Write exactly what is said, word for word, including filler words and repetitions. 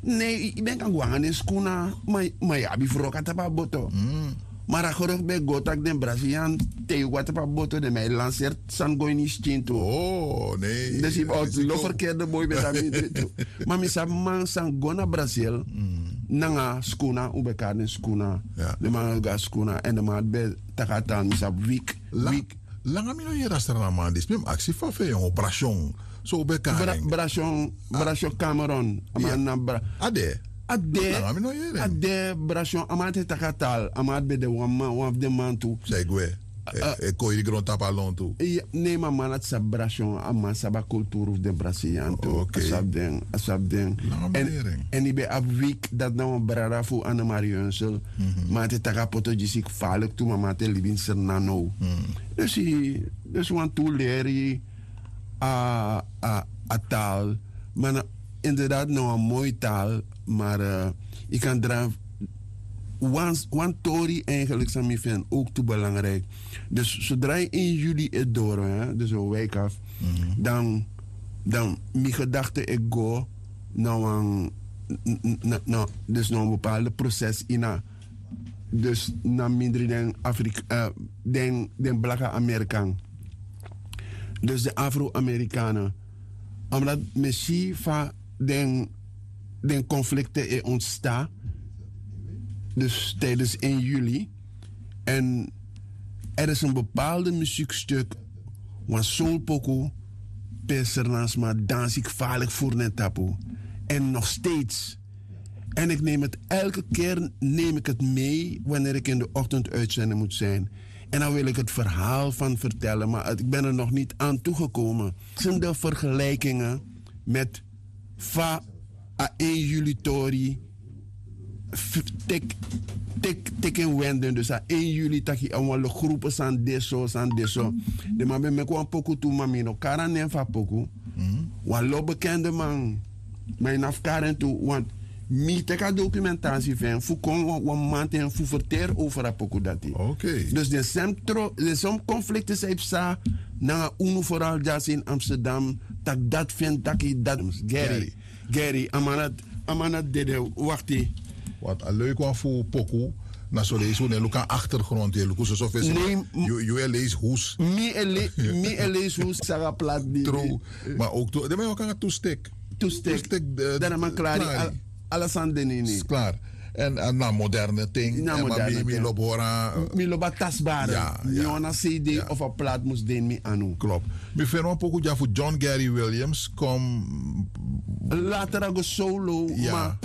Ne, yu ben kan go nanga den skuna. Ma yu abi froka tapu a boto. Ma a gorof ben go tak' den brasilian, te yu go na tapu a boto den man e lanseri sani go ini yu skin tu. Dus yu ben o lo ferkerde boi ben de a mindri tu. Ma mi sabi man san go na brasil nanga skuna un ben kari den skuna. Den man go a skuna èn den man ben taki a tan mi sabi wik. Langa mi no yere a srana man disi mi mus aksi fa fu en o brasion. So un ben kari en. Brasion, brasion cameron. A man na bra a de. A de. A de brasion a man ati e taki a tal a man ati ben de wan man wan fu den man tu. San e gwe e koiri grontapu a lon tu. Ne ma a man ati sabi brasion a man sabi a kulturu fu den brasilian tu. A sabi den a sabi den. Èn yu ben abi wik dati na wan brada fu anne marie hunsel. Ma a te taki a poto gi si gefalik tu ma a man te libi ini serna now. Dus yu dus wantu leri a taal. Ma na inderdaad na wan moi taal. Maar yu kan dra wan tori eigenlik san mi vind ook tu belangrijk. Dus sodra yu in juli e doro dus wi wijk af dan dan mi gedachte e go na wan dus na wan bepaalde proces ina dus na mindri den afrika den blaka amerikan. Dus de afro-amerikanen omdat mi si fa den den konflikte e ontsta dus tijdens een juli en er is een bepaalde muziekstuk wan soulpoku pe sernans ma dansi kfalik furu na en tapu en nog steeds en ik neem het elke keer neem ik het mee wanneer ik in de ochtend uitzending moet zijn en dan wil ik het verhaal van vertellen maar ik ben er nog niet aan toegekomen. Verschillende vergelijkingen met fa a één juli tori teki teki en wenden dus a één juli taki a wan lo grupu san de so san de so. Den man ben meki wan poku tu ma mi no kari a nen fu a poku. Wan lo bekende man ma yu na fu kari en tu want mi teki a dokumentasi fu en fu kon wan mamanten fu ferteri over a poku dati. Dus den sem tro den som konflikti san yu psa nanga unu foral dyasi ini amsterdam tak' dati feni taki dati mus geri. Geri a man na dede wakti. Want a leuki wan fu poku na soleisi un e luku a achtergrond e luku soso fesi. Yu e leisi hus. Mi e leisi hus saga plat di. Tru. Ma ook tu den man yu waka nanga tu stek. Tu stek. Dan a man klari. Ala sani de na ini. Klaar. En na moderne ting. Na moderne ting. Mi lobi hori a mi lobi a tasbare. Mi wan na cd of a plat mus de ini mi anu. Klop. Mi feni wan poku dya fu john gary williams kom. Later a go solo ma.